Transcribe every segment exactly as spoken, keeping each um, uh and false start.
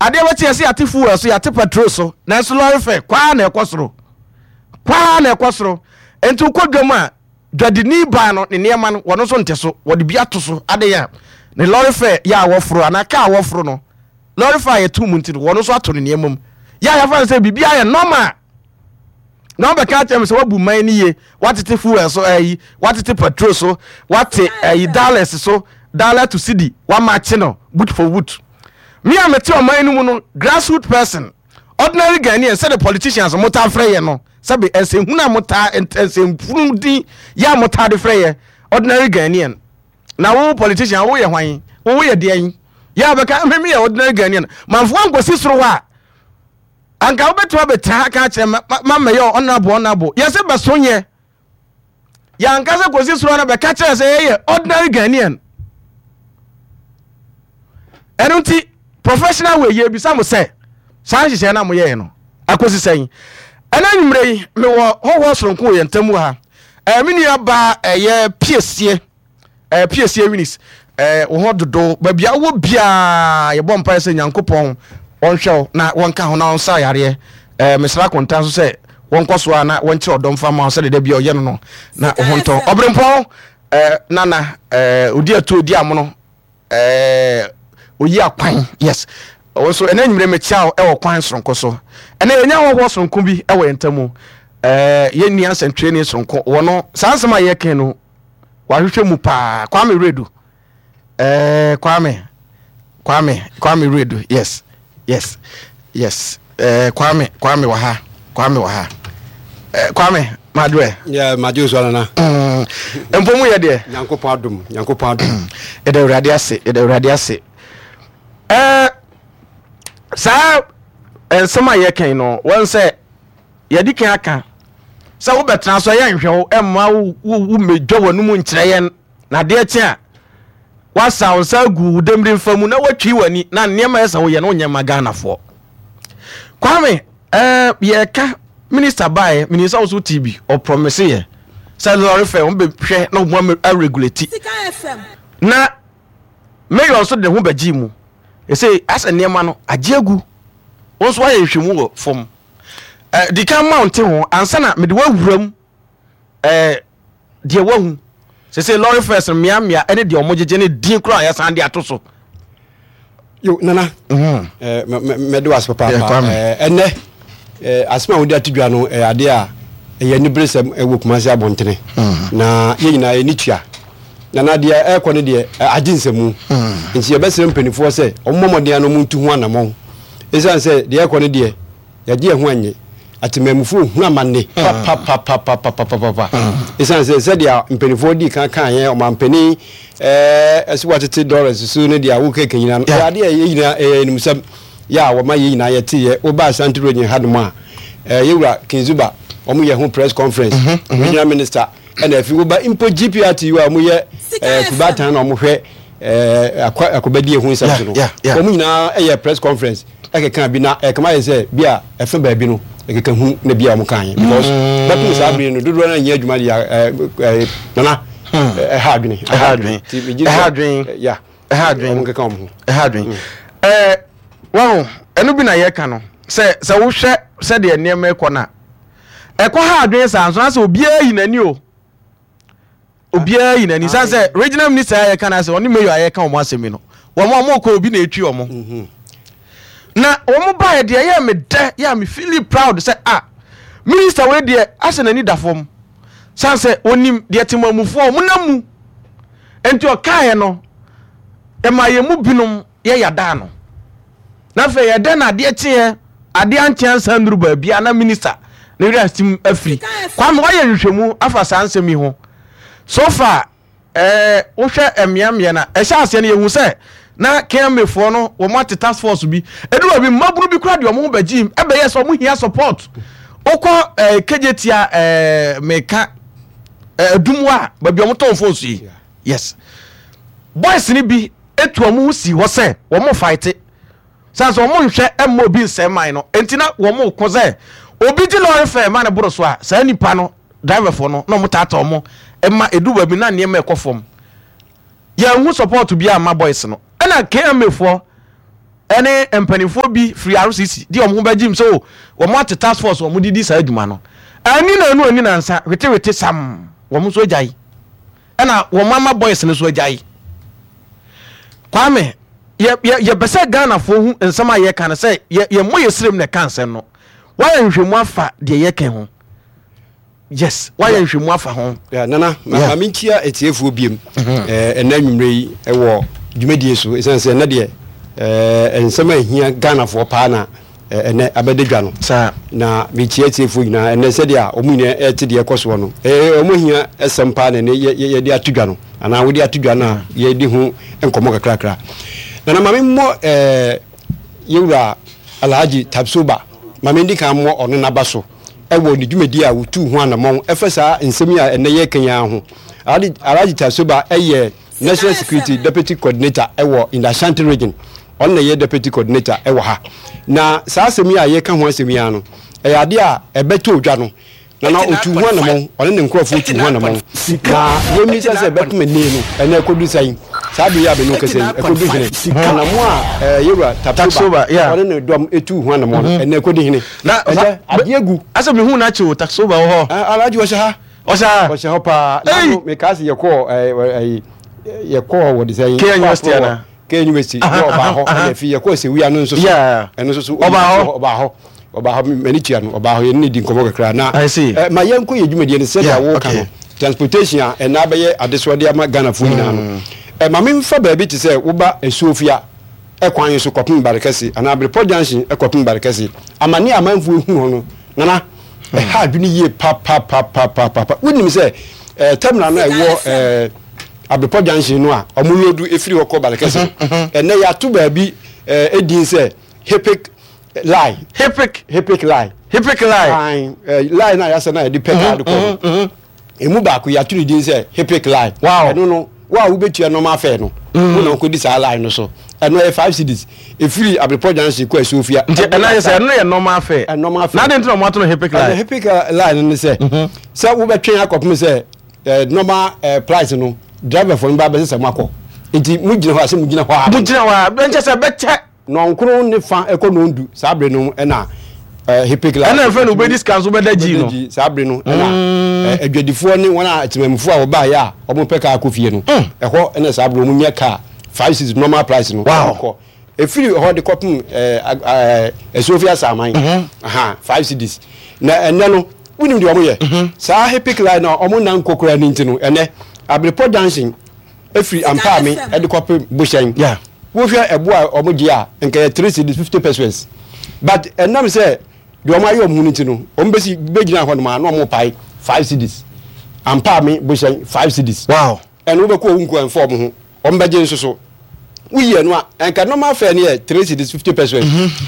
Adeɛ bɛkye yɛ sɛ yɛate fuel so, yɛate petrol so, nanso lorry fare kwaa na ɛkɔ soro, kwaa na ɛkɔ soro. Nti wokɔ dwam a, dwadini baa no ne nneɛma no, wɔno nso nte so, wɔde bi ato so. Adeɛ a ne lorry fare yɛ a wɔforo anaa kaa wɔforo no, lorry fare a yɛto mu nti no, wɔno nso ato ne nneɛma mu. Yɛ a yɛfa no sɛ biribi ayɛ normal na wɔbɛka akyerɛ me sɛ wabu man no yie, watete fuel so, ɛyi, watete petrol so, wate ɛyi dollars so, dollar to cedi, wama akye no boot for boot. Me a mete ɔman no mu no, grassroot person, ordinary Ghanaian, sɛde politicians motaa frɛ yɛ no, sɛbe nsɛnhunu a motaa, nsɛmfunu din yɛ a motaa de frɛ yɛ ordinary Ghanaian. Na wo politician, woyɛ hwan? Woyɛ deɛn? Yɛ a bɛka me meyɛ ordinary Ghanaian, mamfo ankɔsi soro hɔ a, anka wobɛtumi abɛtena ha ka kyerɛ ma mɛyɛ honorable. Honorable yɛsɛ bɛso nyɛ yɛanka sɛ kɔsi soro no bɛka kyerɛ sɛ yɛyɛ ordinary Ghanaian. Ɛno nti professional way, yɛbisa mo sɛ saa nhyehyɛɛ no a moyɛɛ no akɔsi sɛn? Ɛna nwummerɛ yi mewɔ hɔhoɔ soronko wɔ yɛn ntam wɔ ha. Ɛɛ me nua baa, ɛyɛ Piesie, ɛɛ Piesie Eunice, ɛɛ wo ho dodo baabi a wowɔ biaa, yɛbɔ mpaeɛ sɛ Nyankopɔn ɔnhwɛ wo na wɔnka ho na ɔnsa yareɛ. ɛɛ mesra konta nso sɛ wɔnkɔ so a na wɔnkyerɛ ɔdɔm fa ma wo sɛde da bia ɔyɛ no no na wo ho ntɔ. Ɔberempɔn ɛɛ nana ɛɛ odi atu odi amono, ɛɛ oyi akwan, yes, wɔn nso ɛnɛ nwumire mekyia wo ɛwɔ kwan soronko so. Ɛnɛ yɛnya hɔhoɔ soronko bi ɛwɔ yɛn ntam. ɛɛ yɛn nua nsɛntwerɛni soronko wɔ no, saa nsɛm a yɛka no wahwehwɛ mu paa. Kwame Redu, ɛɛ kwame kwame Kwame Redu, yes yes yes ɛɛ Kwame, Kwame wɔ ha, Kwame wɔ ha. ɛɛ kwame madurɛ. Yeah, magye so, Nana. mm, mpo mu yɛ deɛ. Nyankopɔn adom, Nyankopɔn adom. Yɛda Awurade ase, yɛda Awurade ase. ɛɛ saa nsɛm a yɛkan no, wɔn sɛ yɛde kan aka sɛ wobɛtena so, ɛyɛ nhwɛ wo ɛmma wo wo mmɛdwa w'anum nkyerɛ yɛn, na adeɛ kye a wasa wo nsa agu wo dɛmire mfa mu na watwi w'ani na nneɛma yɛ sɛ woyɛ no wonyɛ ma Ghanafoɔ. Kwame, ɛɛ yɛka minister baeɛ, menim sɛ wo so T B ɔpromise yɛ sɛ lorry fare wɔn bɛhwɛ na wɔn aregulate, na mayor nso de ne ho bɛgye mu. Ɛsɛ asɛ nneɛma no agye agu. Wɔn nso ayɛ nhwɛmu wɔ fam. ɛɛ di kan ma nte ho ansa na mede wawura mu. ɛɛ deɛ wahu sese lorry fares no mmeammea ɛne deɛ ɔmo gyegye ne din koraa a yɛsan de ato so. Yo, Nana, eh, mɛde wo ase Yeah, papaapa. Kwame. Eh, ɛnɛ eh, asɛm a wode ato dwa no ɛyɛ adeɛ a ɛyɛ aniberesɛm ɛwɔ Kumase abɔntene na yɛn nyinaa yɛni tua. Nana, deɛ ɛrekɔ no deɛ, ɛ, agye nsɛmu, nti yɛbɛsrɛ mpanimfoɔ sɛ ɔmmɔ mmɔden a na ɔmo ntu ho anammɔn, ɛsiane sɛ deɛ ɛrekɔ no deɛ, yɛgye yɛn ho anye atemammufoɔ hunu amanne papapapapapapa, ɛsiane sɛ sɛdeɛ mpanimfoɔ dii kan kaa yɛn ɔmampanin ɛɛ ɛsɛ watete dollars so no deɛ a wokeka nyinaa no, ɛyɛ adeɛ a yɛ nyinaa ɛyɛ animsɛm yɛ a wɔma yɛ nyinaa yɛteyɛ. Woba Asante Region hanom a, ɛɛ yɛwura Kinzuba, wɔn yɛ ho press conference, regional minister, ɛna afi woba mpo G P R T U a wɔyɛ ɛɛ kubatan na wɔhwɛ ɛɛ akɔ akɔbɛdi ehu nsɛm so no, Yeah, yeah, yeah. wɔn nyinaa ɛyɛ press conference ɛkeka bi na ɛkama yɛ sɛ bi a ɛfɛ baabi no ɛkeka hu na bi a wɔn kan yɛ, because bɛpem saa bere no dodoɔ no nyɛ adwuma deɛ. ɛɛ ɛɛ nana, ɛha adwene. Ɛha adwene. Nti megye Ɛha sɛ, adwene. ɛ, ya Ɛha adwene. wɔn keka wɔn ho. Ɛha adwene. ɛɛ wɔn ɛno bi na yɛka no sɛ sɛ wohwɛ sɛdeɛ nneɛma ɛkɔ na ɛkɔ ha adwene saa nso na sɛ obiara yi n'ani o, obiara yi n'ani san sɛ regional minister a yɛka no asɛ ɔne mayor a yɛka wɔn asɛm yi no, wɔn a wɔn kɔ obi na etwi wɔn na wɔn baeɛ deɛ, yɛ me dɛ, yɛ a me feel proud sɛ ah, minister wei deɛ asɛ n'ani da fam san sɛ onim deɛ temamufoɔ wɔn nam mu, nti ɔkaeɛ no ɛma yɛn mu binom yɛ yadaa no. Na afei yɛdɛ na adeɛ kyeɛ, adeɛ ankyɛ ansa nnuru baabi a na minister ne werɛ asim afiri. Kwame, wayɛ nhwehwɛmu afa saa nsɛm yi ho so far. ɛɛ wohwɛ mmeammea na ɛhyɛ aseɛ no, yɛhu sɛ na K M A foɔ no wɔn ate task force bi edu baabi, mmabunu bi kora deɛ wɔn ho bɛgye ɛbɛyɛ sɛ wɔn hia support. Wokɔ ɛɛ Kejetia, ɛɛ meka ɛɛ Adum a baabi a wɔn tɔn phones yi, yes, boys ni bi etu wɔn ho si hɔ sɛ wɔn fight san sɛ wɔn nhwɛ ɛmma obi nsɛm man no, nti na wɔn kɔ sɛ obi gye lorry fare ma ne boro so a, saa nipa no driverfoɔ no na wɔn taata wɔn ɛma edu baabi na nneɛma ɛkɔ fam. Yɛn ho support bi ama boys no, ɛna K M A foɔ Ɛne mpanimfoɔ bi firi R C C di ɔmo ho bɛgye mu sɛ o wɔn ate task force, wɔn didi saa adwuma no ani na anu ani na nsa wetewete sam, wɔn nso agyae, ɛna wɔn ama boys no nso agyae. Kwame, yɛ yɛ yɛbɛ sɛ Ghanafoɔ hu nsɛm a yɛka no sɛ yɛ yɛmmɔ yɛ sirim na ɛka nsɛm no. Wayɛ nhwehwɛmu afa deɛ yɛka ho? Yes, wayɛ nhwehwɛmu afa ho? Yeah, Nana, ma Yeah. ma menkyia atiefoɔ biem Eh, ɛnɛ anwummerɛ yi ɛwɔ dwumadie so, ɛsiane sɛ ɛnɛ deɛ eh, nsɛm a ɛhia Ghanafoɔ paa na eh, ɛnɛ abɛda dwa no. Saa. Na mekyia atiefoɔ nyinaa ɛnɛ sɛdeɛ a ɔmo nyinaa ɛte deɛ ɛkɔ soɔ no, ɛyɛ ɔmo hia ɛsɛm paa na ɛnɛ yɛ- yɛ- yɛde ato dwa no anaa wode ato dwa no a yɛde ho nkɔmmɔ kakrakra. Nana, ma memmɔ eh, yɛwura Alhaji Tapsoba, ma mendi kan mmɔ ɔno n'aba so ɛwɔ ne dwumadi a wotuu ho anammɔn ɛfɛ saa nsɛm yi a ɛnɛ yɛka yi ara ho. Alhaji Alhaji Tapsoba ɛyɛ National Security Deputy Coordinator ɛwɔ in the Ashanti Region. Ɔno na ɛyɛ Deputy Coordinator ɛwɔ ha. Na saa asɛm yi a yɛka ho asɛm yi ara no, ɛyɛ adeɛ a ɛbɛtɔ odwa no, Nana, otu ho anammɔn, ɔne ne nkurɔfoɔ tu ho anammɔn. Na yɛmmisa sɛ bɛpem ɛnɛ no, ɛnɛ ɛkɔdu sɛn? Saa bere yi a mene wo kasa yi, ɛkɔdu hene? Anammɔn a ɛɛ, yɛwura Tapsoba, Tapsoba yeah. ɔne ne dɔm etu ho anammɔn no, ɛnɛ ɛkɔdu hene? Na ɛnɛ adeɛ gu. Asɛ mehu no akyi o, Tapsoba wɔ hɔ? Ah, Alhaji wɔhyɛ ha. Ɔhyɛ ha. Ɔhyɛ hɔ paa. Ei! Nano mekaa sɛ yɛkɔɔ ɛɛ, ɛyi, yɛkɔɔ wɔde sɛ K University ana? K University na ɔbaa hɔ. Ɛna afei yɛkɔɔ Sewia no nso so. Yeah. Ɛno nso so. Ɔbaa hɔ? Ɔbaa hɔ, ɔbaa hɔ. M'ani tua no, ɔbaa hɔ, yɛne ne di nkɔmmɔ kakra na I see. ɛ, ma yɛnkɔ yɛ dwumadie no sɛdeɛ Yeah, woka okay. no, transportation a ɛna abɛyɛ adesoɔde ama Ghanafoɔ nyinaa no, ɛ, ma memfa baabi te sɛ woba Asuofia ɛkwan so kɔpem Barekɛse anaa Abrepɔ Junction ɛkɔpem Barekɛse, amane a amanfoɔ ehu hɔ no, Nana, ɛha adwene yie papapapapapa. Wonim sɛ ɛɛ terminal no a ɛwɔ ɛɛ Abrepɔ Junction no a ɔmo load efiri hɔ kɔ Barekɛse no, ɛnɛ yɛato baabi ɛɛ edin sɛ Hippic line. Hippic. Hippic line. Hippic line. Line ɛɛ line a yɛasɛ na yɛde pɛ kaade kɔ no, emu baako yɛato ne din sɛ Hippic line. Wow. Ɛno no, wo a wobɛtua normal fare no, wo na wokɔdi saa line no so. Ɛno ɛyɛ five cedis ɛfiri Abrepɔ Junction kɔ Asuofia. Nti ɛna yɛ sɛ ɛno yɛ normal fare? Ɛ, normal fare. Na ade nti na ɔmo ato no hippic ɛna line? Hippic line no ne sɛ sɛ wobɛtwɛn akɔpem sɛ eh, normal eh, price no, driver fo no ba bɛsɛ sɛ moakɔ, nti mogyina hɔ a sɛ mogyina hɔ a mo gyina hɔ a bɛnkyɛ sɛ bɛkyɛ. Nɔnkron ne fa ɛkɔ nɔndu saa bere no ɛna eh, hippic line. Ɛna ɛfɛ no wobɛdi sika nso wobɛda gyi no. Wobɛda gyi saa bere no ɛna eh, adwadifoɔ ne wɔn a temamufoɔ a wɔbaeɛ a wɔn pɛ kaa kɔ fie no, ɛhɔ ɛna saa bere wɔn nya kaa five cedis normal price no. Wow. Kɔ efiri hɔ de kɔpem ɛɛ ɛɛ Asuofi Asaman aha, five cedis. Na ɛnɛ no, wunim deɛ wɔn yɛ saa hippic line na wɔn nan kɔ koraa ne nti no, ɛnɛ Abrepɔ Junction efiri Ampaame ɛde kɔpem Bohyɛn, Yeah. wohwɛ ɛbo a wɔn gye a, nka yɛ three cedis fifty pesewas, but ɛnam sɛ deɛ wɔn ayɛ wɔn ho no ti no, wɔn bɛsi bɛgyina hɔ nom a na wɔn pae five cedis, Ampaame Bohyɛn five cedis. Wow ɛno wobɛkɔ owu nko ɛnfa wɔn ho, wɔn bɛgye nso so. Woyi ɛno a, nka normal fare no yɛ three cedis fifty pesewas.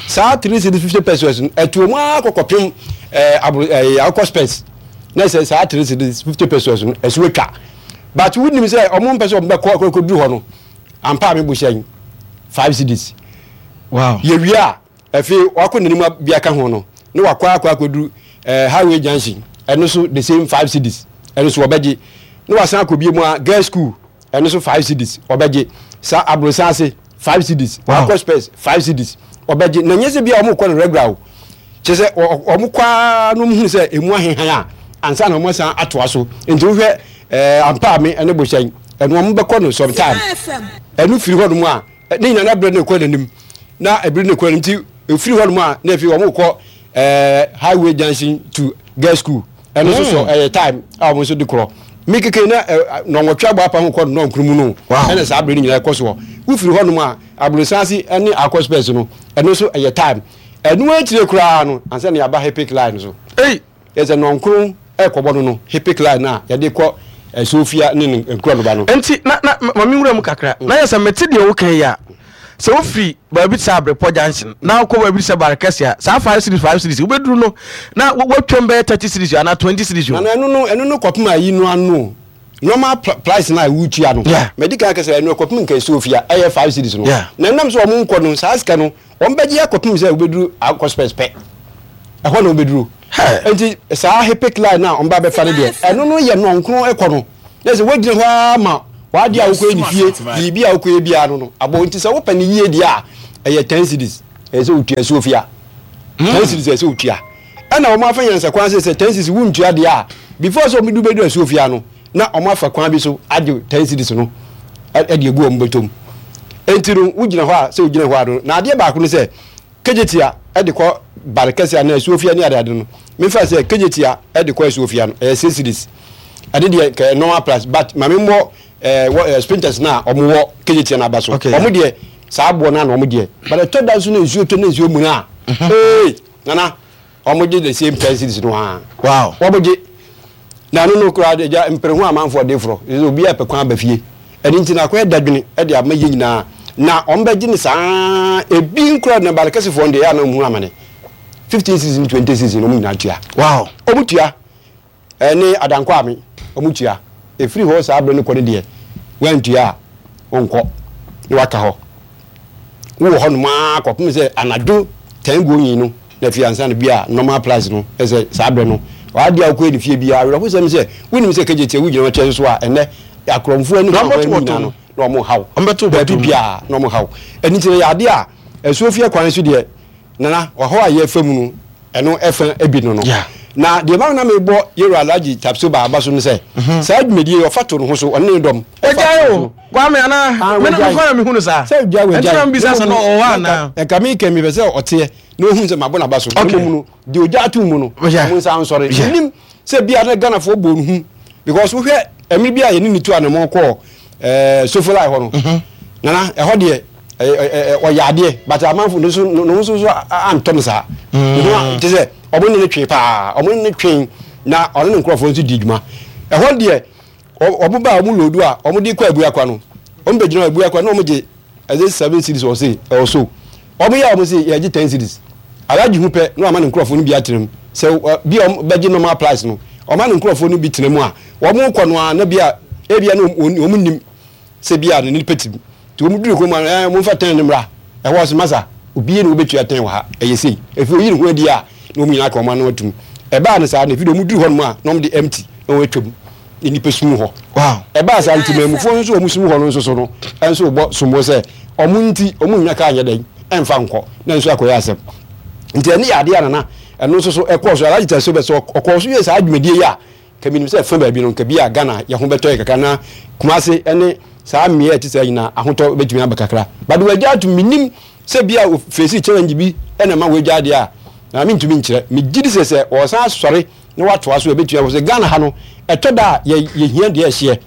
Saa three cedis fifty pesewas no, ɛto wɔn ara kɔkɔpem ɛɛ aburo ɛɛ akɔ Spurs na sɛ saa three cedis fifty pesewas no ɛso atwa, but wonim sɛ wɔn mpɛ sɛ wɔn bɛkɔ akɔduru hɔ no, Ampaame Bohyɛn five cedis. Wow yɛwie a, afei wakɔ n'anim bi aka ho no na wakɔ akɔ akɔduru ɛɛ highway junction, ɛno so the same five cedis, ɛno so wɔbɛgye, na wasan akɔ bie mu a girls school, ɛno so five cedis ɔbɛgye, saa Aborosan ase five cedis. Wow. Akɔ Spurs five cedis ɔbɛgye. Na nyɛ sɛ bi a wɔn kɔ no regular o, kyerɛ sɛ wɔn kɔ ara no, wɔn hu sɛ emu ahehan a ansa na wɔn asan atoa so. Nti wohwɛ ɛɛ Ampaame ɛne Bohyɛn, ɛno wɔn bɛkɔ no sometime. Ɛno firi hɔ nom a, ne nyinaa na berɛ no kɔ n'anim na ebiri no kɔ n'anim. Nti efiri hɔ nom a, na efi wɔn kɔ ɛɛ highway junction to girls school, ɛno nso so ɛyɛ time a wɔn nso de korɔ mi keke na ɛ nɔnwɔtwe abɔ apa ho kɔ nɔnkuru mu no. Wow. Ɛna saa berɛ no nyinaa ɛkɔ soɔ. Wofiri hɔ nom a, Aborosan ase ɛne akɔ Spurs no, ɛno nso ɛyɛ time. Ɛno akyire koraa no ansa na yɛaba hippic line so. Ei. Yɛsɛ nɔnkron ɛkɔbɔ no no hippic line no a yɛde kɔ Asuofia ne ne nkura no ba no. Nti na na ma me nwura mu kakra na yɛ sɛ mete deɛ woka yi a, sɛ wofiri baabi te sɛ Abrepɔ Junction na wokɔ baabi te sɛ Barekɛse a, saa five cedis five cedis wobɛduru no na wa- watwam bɛyɛ thirty cedis anaa twenty cedis o. Nana, ɛno no ɛno no kɔpem ayi no ano normal pr- price na wotua no. Yeah. Mɛdi kan kɛsɛ ɛno kɔpem nka Asuofia ɛyɛ five cedis no. Yeah. Na ɛnam sɛ ɔmo nkɔ no, saa sika no wɔn bɛgye akɔpem sɛ wobɛduru akɔ Spurs pɛ, ɛhɔ na wobɛduru. Hey. Nti saa hippic line na ɔmo ba bɛfa no deɛ, ɛno no yɛ nɔnkron ɛkɔ no na sɛ wogyina hɔ ara ma wade a wokɔyɛ ne fie biribi a wokɔyɛ biara no no abɔ. Nti sɛ wopɛ ne yie deɛ a, Ɛyɛ ten cedis ɛyɛ sɛ wotua Asuofia. Ten cedis ɛyɛ sɛ wotua, ɛna wɔn afa nyansa kwan sɛ sɛ ten cedis wontua deɛ a, before sɛ wɔn de bɛdu Asuofia no, na wɔn afa kwan bi so agye ten cedis no ɛde egu wɔn bɔtɔm. Enti no wogyina hɔ a, sɛ wogyina hɔ a no, na adeɛ baako no sɛ Kejetia ɛde kɔ Barekɛse anaa Asuofia ne adeade no, mefa sɛ Kejetia ɛde kɔ Asuofia no ɛyɛ six cedis. Ɛde deɛ kɛ normal price, but maame mmɔ ɛɛ wɔ ɛɛ Spintex na ɔmo wɔ Kejetia n'aba so, ɔmo deɛ saa aboɔ no na ɔmo deɛ, but ɛtɔ da nso na nsuo tɔ na nsuo mu na ee, nana, ɔmo gye the same ten cedis no aa. Wow wɔn gye na ɛno no koraa de gya mpere ho amanfoɔ de forɔ ɛsɛ obi a pɛ kwan aba fie. Ɛno nti na akɔyɛ dadwene ɛde ama yie nyinaa na wɔn bɛgye ne saa. Ebi nkura na Barekɛsefoɔ deɛ, ɛyɛ anam hu amane, fifteen cedis ne twenty cedis na wɔn nyinaa tua. Wow wɔn tua ɛne Adankɔ ame wɔn tua. Efiri hɔ saa abere no kɔ ne deɛ, wɔntua a wɔnkɔ na waka hɔ. Wowɔ hɔ nom ara kɔpem sɛ anadwo ten going no na afei ansa no bi a normal price no ɛsɛ saa berɛ no adeɛ a wokɔyɛ ne fie biara. Awerɛhosɛm sɛ wonim sɛ Kejetia wogyina wɔkyɛ so a, ɛnɛ akorɔmfoɔ ani Na hɔ ɔmbɛto nyinaa no na ɔmo haw Ɔmbɛto baabi bɔtɔ mu. Biara na ɔmo haw. Ɛno nti no yɛ adeɛ a Asuofie kwan so deɛ, nana, ɔhaw a yɛfa mu no, ɛno ɛfa ebi no no Yeah. Na deɛ maa na mebɔ yɛwura Alhaji Tapsoba aba so no sɛ saa dwumadie yi ɔfa to ne ho so, ɔne ne dɔm ɛfa Wagyae to ne o so. Kwame ana Ah, me wagyae. kwan na mehu no saa. Sɛ gya wagyae. Ɛnti na mbisa sɛ na ɔwɔ anaa. Ɛka mi kɛ mi pɛ sɛ ɔteɛ na ohun sɛ mabɔ n'aba so. Okay. Na mmom no deɛ ogya ato mu no, Yeah. ɔmo nsa nsɔre. Yeah. Nim sɛ bia na Ghanafoɔ bɔ ne hu because wohwɛ ɛmiri bi a yɛne ne tu anamɔ kɔɔ ɛɛ Sofoline hɔ no, nana, ɛhɔ deɛ ɛɛ ɛɛ ɔyɛ adeɛ, but amanfo ne so ne ho nso so antɔ no saa. Ne ho a te sɛ ɔmo ne ne twe paa, ɔmo ne ne twe na ɔne ne nkurɔfoɔ nso di dwuma. Ɛhɔ deɛ ɔ- ɔmo ba a, ɔmo load a ɔmo de kɔ Abuakwa no, ɔmo bɛ gyina Abuakwa na ɔmo gye ɛdze seven cedis. Ɔse ɛwɔ so ɔmo yɛ a, ɔmo se yɛgye ten cedis. Alhaji hu pɛ na wama ne nkurɔfoɔ no bi atena mu sɛ ɔ, bi a ɔmo bɛgye normal price no, ɔma ne nkurɔfoɔ no bi tena mu a wɔn kɔ no a, na bi a ebia na wɔn wɔn nim sɛ bi a ne nipa ti mu nti wɔn duru kurom a, ɛɛ wɔn fa ten ne mmra. Ɛhɔ ɔsɛ masa obi na wɔbɛtua ten wɔ ha. Ɛyɛ sei efi oyi ne ho adi a, na wɔn nyinaa ka wɔn ano atum. Ɛbaa no saa na efi de wɔn duru hɔ nom a, na wɔn de empty na wɔn atwam na nipa sum hɔ. Wow ɛbaa saa nti maamufoɔ nso a wɔn sum hɔ no nso so no ɛnso bɔ sombo sɛ ɔmo nti ɔmo nya kaa nyɛ dɛn ɛnfa nkɔ na nso akɔyɛ asɛm. Nti ɛne yɛ adeɛ a, nana, ɛno nso so ɛkɔɔ so. Alhaji Tɛso bɛ sɛ ɔkɔɔ so yɛ saa dwumadie yi a, kaminim sɛ ɛfa baabi no nka bi a Ghana yɛ ho bɛtɔ yɛ kakra na Kumase ɛne saa mmea a ɛte saa nyinaa ahotɔ bɛtumi aba kakra, but wagya ato. Menim sɛ bi a face challenge bi ɛna ma wagya adeɛ a na mentumi nkyerɛ. Megye di sɛ sɛ ɔsan asɔre na watoa so, ɛbɛtumi akɔ sɛ Ghana ha no ɛtɔ da a yɛ yɛhia deɛ ɛhyeɛ,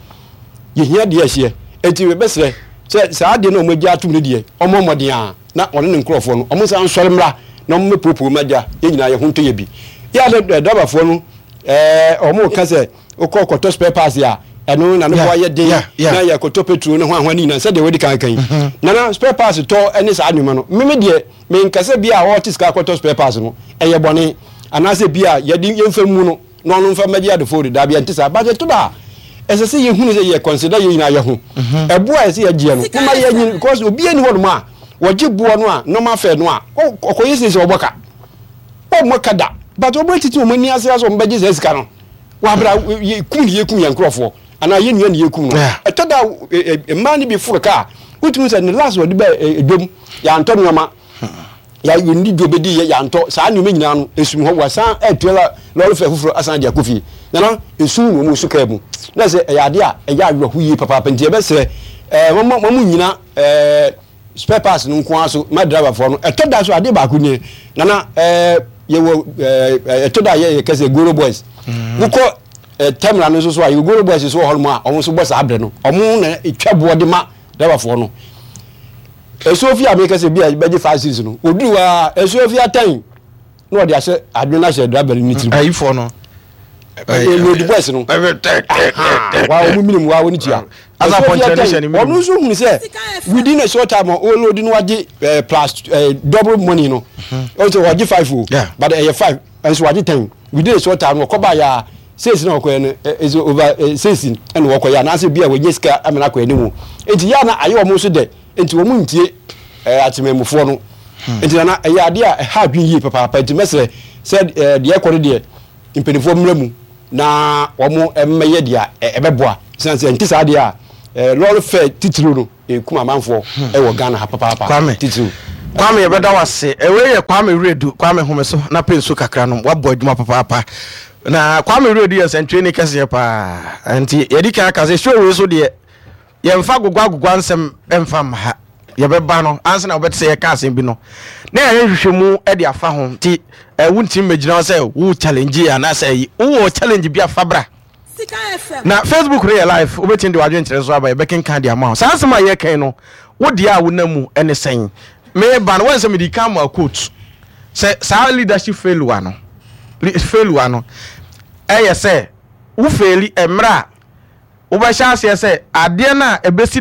yɛhia deɛ ɛhyeɛ. Enti bɛsrɛ sɛ saa adeɛ no a ɔmo agya atom no deɛ, ɔmo mmɔden a na ɔne ne nkurɔfoɔ no ɔmo nsa nsɔre mmra na ɔmo mɛpuopuo mu agya yɛn nyinaa yɛ ho ntɔ yɛ bi yɛ ade. Driverfoɔ no ɛɛ ɔmo ka sɛ wokɔ kɔtɔ spare parts a, ɛno na ne bo ayɛ den na yɛ kɔtɔ petrol ne ho ahoa ne nyinaa sɛdeɛ wɔdi kan kan yi. Nana, spare parts tɔ ne saa nneɛma no, meme deɛ menkasa bi a ɔte sika akɔtɔ spare parts no ɛyɛ bɔne anaasɛ bi a yɛde yɛmfa mu no na ɔno mfa mmɛgye adefo de daabi, ɛnte saa. But ɛto da a ɛsɛ sɛ yɛhunu sɛ yɛ consider yɛ nyinaa yɛ ho ɛboɔ a ɛsɛ yɛgyeɛ no moma yɛnyi, because obi ani hɔ nom a wɔgye boɔ no a normal fare no a ɔkɔyɛ sɛ sɛ ɔbɔ ka, ɔmmɔ ka da, but ɔbɔ titi wɔn ani ase asɛ ɔmo bɛgye saa sika no wabra yɛkum ne yɛkum yɛn nkurɔfoɔ anaa yɛn nua ne yɛkum no. Ɛtɔ da mmaa no bi foro kaa wotumi sɛ ne last wɔde bɛ edwom yɛantɔ nneɛma, yɛndi dwo bɛdi yɛ yɛantɔ saa nneɛma nyinaa no esum hɔ, wasan ɛtua lɔre fɛ foforɔ asan de akɔ fie. Nana, esum na wɔn su kaa mu na sɛ ɛyɛ adeɛ a ɛyɛ awerɛho yie papaapa. Nti yɛbɛsrɛ ɛɛ wɔn wɔn nyina ɛɛ spare parts no nko ara so ma driverfoɔ no. Ɛtɔ da so adeɛ baako nie, nana, ɛɛ yɛwɔ ɛɛ ɛtɔ da yɛ yɛ kɛsɛ goro boys wokɔ ɛɛ terminal no nso so a, yɛwɔ goro boys nso wɔ hɔ nom a wɔn nso bɔ saa abere no, wɔn na etwa boɔ de ma driverfoɔ no. Esuo fi a mi kɛsɛ bi a bɛgye five six no, oduru wa esuo fi atɛn na ɔde ahyɛ adwene ahyɛ driver no ne tirim. Ayifoɔ no. Load boys no wa wɔn minimum wa wɔn tua. Asa pɔnkyerɛ ne hyɛ ne minimum. Ɔno nso hunu sɛ within a short time ɔload no wagye ɛɛ plus ɛɛ double money no. Ɔn sɛ wagye five o, but ɛyɛ five nso wagye ten within a short time no. Ɔkɔba yɛ a six na ɔkɔyɛ no is over six ɛna ɔkɔyɛ anaasɛ bi a wɔnyɛ sika amena akɔ anim. Nti yɛ ana ayɛ wɔn nso dɛ, nti wɔn ntie ɛɛ atemamufoɔ no. Nti nana, ɛyɛ adeɛ a ɛha adwene yie papaapa. Nti mɛsrɛ sɛ ɛɛ deɛ ɛkɔ no deɛ, mpanimfoɔ mmerɛ mu na wɔn mmɛyɛ deɛ ɛbɛboa sisan sɛ nti saa deɛ a ɛɛ lɔre fɛ titiriw no ekum amanfoɔ ɛwɔ Ghana ha papaapa. Kwame. Titiriw. Kwame, yɛbɛda wo ase. Ɛwei yɛ Kwame Wiredu. Kwame, home so na pɛ nsu kakra nom. Woabɔ adwuma papaapa. Na Kwame Wiredu yɛ nsɛntwerɛni kɛseɛ paa, nti yɛdi kan aka sɛ show wei so deɛ, yɛmfa agogɔ agogɔ ansɛm ɛmfa mma ha. Yɛbɛba no ansa na wobɛte sɛ yɛka asɛm bi no na yɛyɛ nhwehwɛmu de afa ho. Nti wontimi mmɛgyina hɔ sɛ wo challenge anaasɛ ayi wowɔ challenge bi afa bra. Na Facebook no yɛ live, wobɛtumi de wadwenkyerɛ so aba, yɛbɛkenka de ama wo. Saa asɛm a yɛkan no, wo deɛ a wonam mu ne sɛn? Meba no, wɔn sɛ mede ka ma quote sɛ saa leadership failure no, failure no ɛyɛ sɛ wo fail mmerɛ a wobɛhyɛ aseɛ sɛ adeɛ no a ɛbɛsi.